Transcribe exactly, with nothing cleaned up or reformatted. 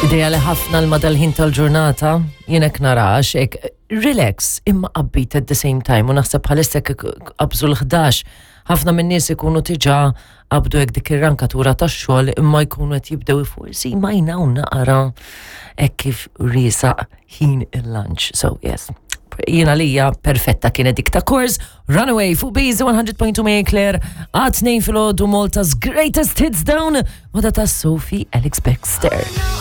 Ideali ħafna l-madal-ħin tal-ġurnata, jienek narax, ek relax, imma upbeat at the same time, u naħseb bħalissa qabżu l-ħdax, ħafna minn nies ikunu tiġa qabdu hekk dik ir-rankatura tax-xogħol imma jkunu qed jibdew forsi ma jnaw naqra hekk kif riesaq ħin il-lunch. So yes, jiena lija perfetta kienet dik ta' Kors, Runaway fuq Bees one hundred point two Marie Claire, għat-tnejn filgħodu, Malta's greatest hits down, wada ta' Sophie Ellis Bextor.